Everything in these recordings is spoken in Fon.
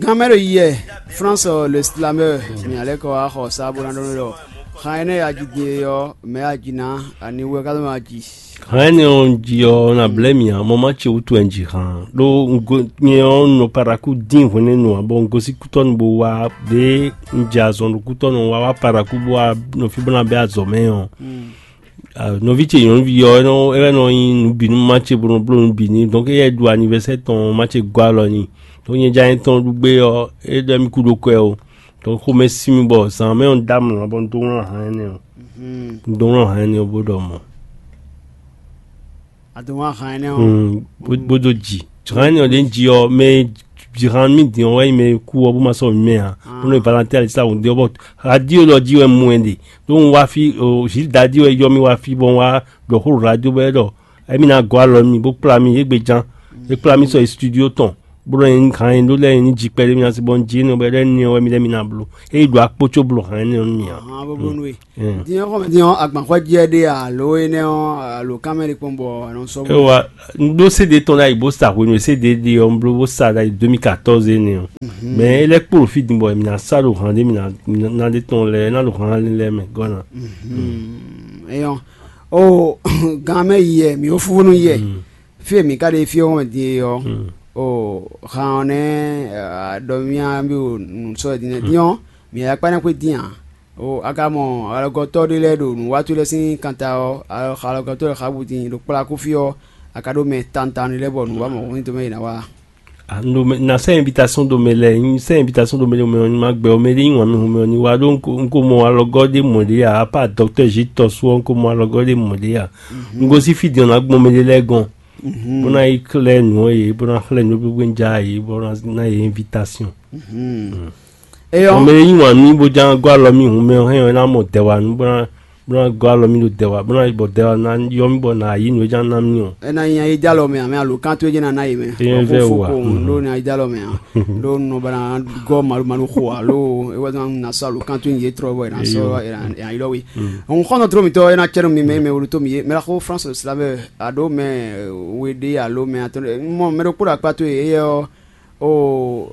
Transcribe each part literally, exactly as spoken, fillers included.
Gán mɛ ɖo yiyɛ, France le slameur, mi alɛ kɔ wá xɔ sá bó ná ɖɔ nú ɖɔ xan énɛ́ ya ji din e ɔ́, mɛ ya ji ná, ani wɛ ka nɔ ma ji. Hɛn énɛ́ ɔ́, un ji ɔ́, na blɛ́ mì ǎ, mɔ má ce wútu wɛ un ji han. Ɖó un go nyɛ ɔ́, un nɔ Paraku dín hwenɛ́nu ǎ, bɔ un gosín kútɔ́nu bó wá ɖě un jɛ azɔn ɖo kútɔ́nu wá wá Paraku bó wá nɔ fí bó ná bɛ́ azɔ̌ mɛ ɔ́. Ah, nɔví ce nyɔ̌nuví ɔ́, é nɔ é wɛ nɔ nyi nǔ bǐ nú má ce bó nɔ bló nǔ bǐ n'i. Donc éyɛ́ ɖu anivɛsɛ́ tɔn, má ce gɔ́ alɔ n'i. Donc nyɛ jɛ anyɛ tɔn ɖu gbé ɔ́, é ɖɔ mì kú ɖó kwɛ ó. Donc xomɛ sin mì bɔ zǎn mɛ ɔ́, un dó amlɔ bɔ un dó wlán han énɛ́ ɔ́. Un dó wlán han énɛ́ ɔ́ bó ɖɔ mɔ̌. A dó wlán han énɛ́ ɔ́. Hmm, bó bó dó ji. Han énɛ́ ɔ́ ɖě un ji ɔ́, mɛ ji han mì din ɔ́ wɛ nyí mɛ e kú ɔ́ bó ma sɔ́ mì mɛ ǎ. Bó nɔ valentine ali sa wǔ dé ɔ́ bɔ radio lɔ jí wɛ un mɔ ɛ ɖe. Ɖó un wá fí, o, Gilles Dadi wɛ yɔ mì wá fí bɔ un wá ɖɔ xó ɖo radio bɔ é ɖɔ émí ná gɔ́ alɔ nú mì bó kplá mì égbé ján. É kplá mì sɔ́ yi studio tɔn, bó ɖɔ nyɛ hán nyɛ ɖó lɛ́ɛ nyɛ ní ji kpɛɖé mì ná sí bɔ un jí énɛ́ bɔ é ɖɔ énɛ́ ɔ́ wɛ mì lɛ́ɛ mì ná bló. É yi ɖɔ akpó có bló hán énɛ́ ɔ́ nú mì ǎ. Ahán bó bló nú we. Din ɔ́ xɔmɛ din ɔ́, agbanxwɛ́ jí wɛ ɖe alo énɛ́ ɔ́ alo kán mɛ ɖé kpɔ́n bɔ a nɔ sɔ́ É bó. Wa un ɖó C D tɔn ɖ'ayǐ bó sa hwenu e C D ɖe ɔ́, un bló bó sa ɖ'ayǐ deux mille quatorze énɛ́ ɔ́. Mɛ é lɛ́ kpo ɖo fí din bɔ mǐ ná sa ɖo hǎn ɖé mǐ ná mǐ ná ɖe tɔn lɛ́ɛ ná ɖo hǎn lɛ́ɛ mɛ gɔ́ ná. Eyɔn o gan mɛ yi yɛ mǐ ó fúfú nú yɛ. Fí e mǐ ka ɖe fí ɔ́ wɛn din e ɔ́, o han ɔ́ nɛ́ ɖɔ mì á mì o nǔ sɔ́ din nɛ́ din ɔ́, mǐ akpá ná xwé dín ǎ. O a ka mɔ alɔgɔtɔ́ ɖé lɛ́ɛ ɖo nǔwatú lɛ́ɛ sín kanta ɔ́, alɔgɔtɔ́ lɛ́ɛ xá bú din ɖo kplá kú fí ɔ́, a ka ɖó mɛ tantan lɛ́ɛ bɔ nǔ wa mɔ̌ ní dó mɛ yě ná wa. Ah, un ɖo mɛ na sɛ́ invitation ɖo mɛ lɛ́ɛ, un sɛ́ invitation ɖo mɛ ɖo mɛ ɔ́, ma gbɛ ɔ́, mɛ ɖé nyi wǎn mɛ hun mɛ ɔ́ ní wá ɖó un ko un ko mɔ alɔgɔ́ ɖé mɔ̌ ɖé ǎ, apá dɔktɔ́ Zitɔsu ɔ́, un ko mɔ alɔgɔ́ ɖé mɔ̌ ɖé ǎ. Un gosín fí din ɔ́ ná gbɔn mɛ ɖé lɛ́ɛ gɔ́n, bó ná yi xlɛ́ nǔ ɔ́ yě, bó ná xlɛ́ nǔ gbégbé un ja yě, bó ná ná yě invitation. Eyɔn. Mɛ e yí wǎn nú mì bó ján gɔ́ alɔ mì hǔn mɛ ɔ́ hɛn ɔ́, é ná mɔ dɛwanu bó ná bó ná gɔ́ alɔ mì ɖo dɛwa bó ná bɔ dɛwa ná yɔ mì bɔ nǎ yí nǔ e ján ná mì ɔ́. É ná nyí ayídálɔ mɛ ǎ mɛ alǒkan towe jɛ́n ná ná yě mɛ. Eyɛn vɛ wǒ wǒ a? Ɖó ní ayídálɔ mɛ ǎ. Ɖó nɔ ba ná gɔ́ malu malu xo ǎ ló é wɛ ná sa alǒkan towe nyi yě trɔ bɔ è nǎ sɔ́ è nǎ yí lɔ we. Hɔn xɔ́ntɔn tló mǐtɔn é ná cɛ́ nú mi mɛ mɛ wolo tó mi é mɛ xó France le slavɛ aɖó mɛ we ɖé alo mɛ atɔn mɔ mɛ ɖokpó ɖo akpá towe éyɛ́ ɔ́. O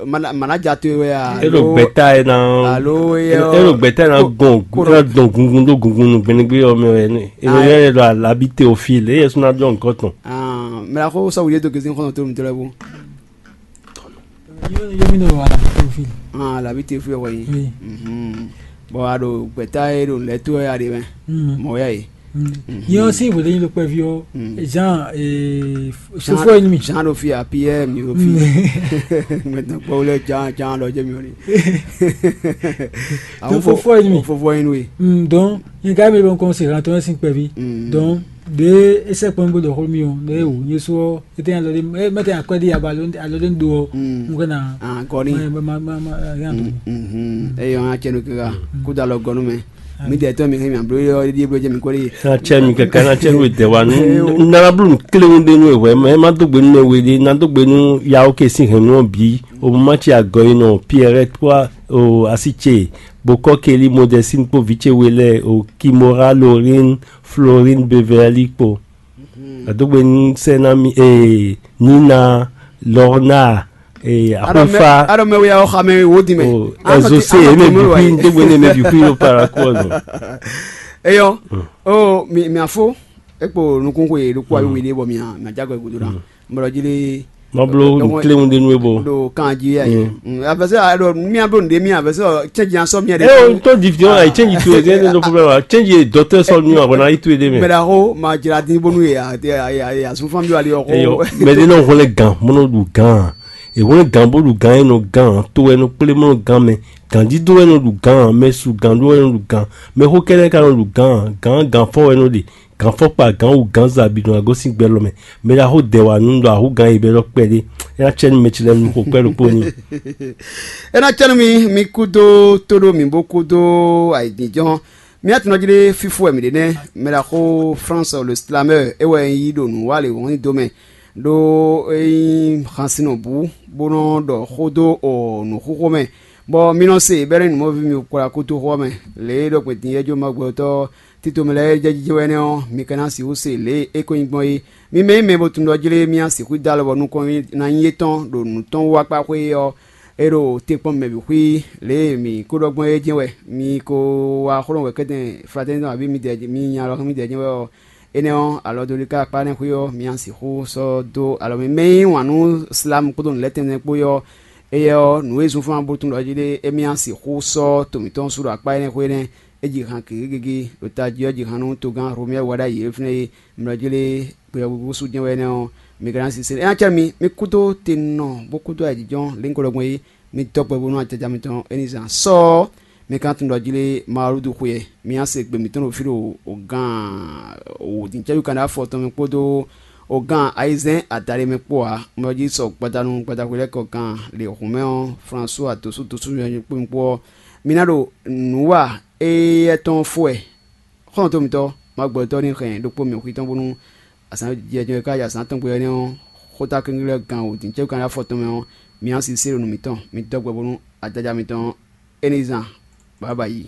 mana mana ja to wɛ a? E ɖo gbɛta e na alo e ɖo gbɛta e na gbɔn e na dɔn gungun ɖo gungun nu gbɛnɛgbɛ ɔ́ mɛ wɛ ne e yɛ ɖo alabi teofil e yɛ suna dɔn nukɔ tɔn. Mɛ la ko sɔwu ye do gezi nkɔnɔ to mi tɔlɛ bo. Yomi ne wa alabi teofil. Alabi teofil wɛ yi. Bɔn a ɖo gbɛta e ɖo lɛ to wɛ a ɖe mɛ mɔ ya yi. Yɛn ɔ́ sín hwěɖényí ɖo kpɛví ɔ́, Jean, fofó ɔ́ nyí mì. Jean ɖo fí a, Pierre mi ɖo fí. Mɛtɔn kpɔ́ lɛ Jean Jean ɖɔ jɛ mi ɔ́ ni. Tó fofó ɔ́ nyí mì. Fofó ɔ́ nyí nú we. Donc nyɛ ka mi ɖo nukɔn se hlan tɔn sín kpɛví. Donc ɖě é sɛ́ kpɔ́n bó ɖɔ xó mi ɔ́, ɖě é wǔ nyɛ sú ɔ́, é tɛ́ alɔ ɖé é mɛ tɛ́ akwɛ́ ɖé aba alɔ ɖé do ɔ́, un kɛ na. Gɔni. Ma ma ma ma rien. Eyɔn acɛnu kika kó da lɔ gɔnu mɛ. Mi dɛ tɔn mi hɛn mi ablo yɔ ɖi blo jɛ mi kɔ ɖi. Na cɛ mi kɛkɛ na cɛ nu dɛ wa nu. Nana blu kléwu ɖe nu wɛ mɛ ma dó gbe nu mɛ we ɖi na dó gbe nu yawo ke sin hɛn nu bi o ma ci agɔ yi nɔ Pierre toi o asi ce bokɔ keli modesine kpo vi ce we lɛ o Kimora Lorraine Florine Beverly kpo. Adógbe ní sɛ ná mi ee Nina, Lorna, ee Axófá. Aɖɔ mɛ wia ɔ́ xamɛ wo di mɛ. Ɛzose eme bixwi dógbe ní eme bixwi ló para kú ɔzɔ. Eyɔ o mi mi afo ekpo nukun ko ye ɖo kó ayi wele bɔ mi a mi adza gɔ gudo na mɔlɔ dzi le. Mablo kléwu ɖe nú ebo. Ɖo kan dzi ya yi. Afɛsɛ aɖɔ mia ɖo nɖe mia afɛsɛ cɛnji asɔ mia ɖe. Ee o tó di fi ɔn ayi cɛnji tu ede ne ɖo problème wa cɛnji dɔtɛ sɔ nu awɔ na yi tu ede mɛ. Mɛ ɖa ko ma dzra dín bónú ye asunfan bi wali ɔkɔ. Eyɔ mɛ ɖe nɔ hwlɛ gan mɔnɔ ɖu gan ehwlɛ gan bó ɖu gan enɔ gan to ɛnɔ kplé mɔnɔ gan mɛ gan dídó ɛnɔ ɖu gan mɛ su gan ɖó ɛnɔ ɖu gan mɛ xó kɛɖɛ ka nɔ ɖu gan gan gan fɔ ɛnɔ ɖe gan fɔkpa gan wu gan zabi ɖo agosín gbɛ lɔ mɛ mɛ ɖo axó dɛ wa nu ɖo axó gan yi bɛ lɔ kpɛɖé. É ná cɛ nú mɛ ce lɛ́ɛ nu xo kpɛ́ ɖokpó n'i. É ná cɛ nú mi mi kúdó tóɖó mǐ bó kúdó ayǐjínjɔ́n. Mía tɔn jí ɖé fífó wɛ mǐ ɖe nɛ́ mɛ ɖo axó France le slameur é wɛ un yí ɖo nǔ wa lě wɔn nyi dó mɛ ɖó é nyí hansinɔ bǔ bó nɔ́ ɖɔ xó dó nǔxóxó mɛ. Bɔ mi nɔ se bɛ́ nú nǔmɔví mi kplá kútóxó ɔ́ mɛ lě e ɖɔ gbɛn din yɛ́jó ma gbɛtɔ́ Tito mɛ lɛ́ɛ jɛ jijɛ wɛ nɛ́ ɔ́, mi ka ná sixú se lě e é ko nyí gbɔn é. Mi mɛ e mɛ bo tunwun ɖɔ jlé mì a sixú dó alɔ bɔ nukɔn ná nyí étɔn ɖo nǔ tɔn wú akpá xwé ɔ́, é ɖo te kpɔ́n mɛ bǐ xwí. Lě e mǐ ko ɖɔ gbɔn é jɛ́n wɛ. Mi ko wá xlɔ́ wɛ kɛ́tɛn fratɛ́nitɔn abǐ midɛɛ mi nya alɔ xá midɛɛ jɛ́n wɛ ɔ́, énɛ́ ɔ́, alɔ dó ɖi ká akpá énɛ́ xwé ɔ́, mi a sixú sɔ́ dó alɔ mɛ. Mɛ e yí wǎn nú Silamu kpódó nǔ lɛ́ɛ tɛnmɛ kpó é ɔ́, éyɛ́ ɔ́, nǔ e zunfán bo tunwun ɖɔ jí ɖé émí a sixú sɔ́ to mǐtɔn sú ɖo akpá énɛ́ xwé nɛ́. É ji han gěgégégé ɖo tají ɔ́ ji han nú togán Hlomɛ wá ɖ'ayǐ e fínɛ́ é. Mlɔjí lé gbeyɔ́gbégbé sú jɛ́n wɛ énɛ́ ɔ́, mi ka ná sisé. É ná cɛ mi, mi kúdó te nɔ bó kúdó ayǐjínjɔ́n lěhunkɔ́ ɖɔgbɔn é, mi dɔ́ gbɛ bónú ajaja mitɔn é ní zán sɔ́. Mi ka tunwun ɖɔ jí lé Mawludu xwe ɛ. Mi ná se gbe mǐtɔn ɖo fí ɖo gǎn wǒdǐncɛ́jú kan ɖó afɔ tɔn mɛ kpódó gǎn ayizɛ́n adaɖé mɛ kpó ǎ. Mlɔjí sɔ gbadanu gbadaxwe lɛ́ɛ kɔ gǎn lě hǔnmɛ ɔ́, Flansúa dǒsú dǒsú nyɔ̌nyɔ́ kpó mi kpó ɔ́, mi ná ɖo nǔ wa éyɛ́ tɔn fó wɛ. Xɔ́ntɔn mitɔ́, ma gbɔ tɔ́ ní hɛn ɖokpó mɛ xwí tɔn bónú azǎn jɛjɛ e ka yi azǎn tɔn gbe ɔ́ nɛ́ ɔ́, xóta kɛ́nklɛ́n gán wǒ din cɛ́ kan ɖó afɔ tɔn mɛ ɔ́, mi ná sisé ɖo nǔ mitɔn, mi dɔ́ gbɛ bónú ajaja mitɔn ɔ́, é ní zan bǎbǎ yi.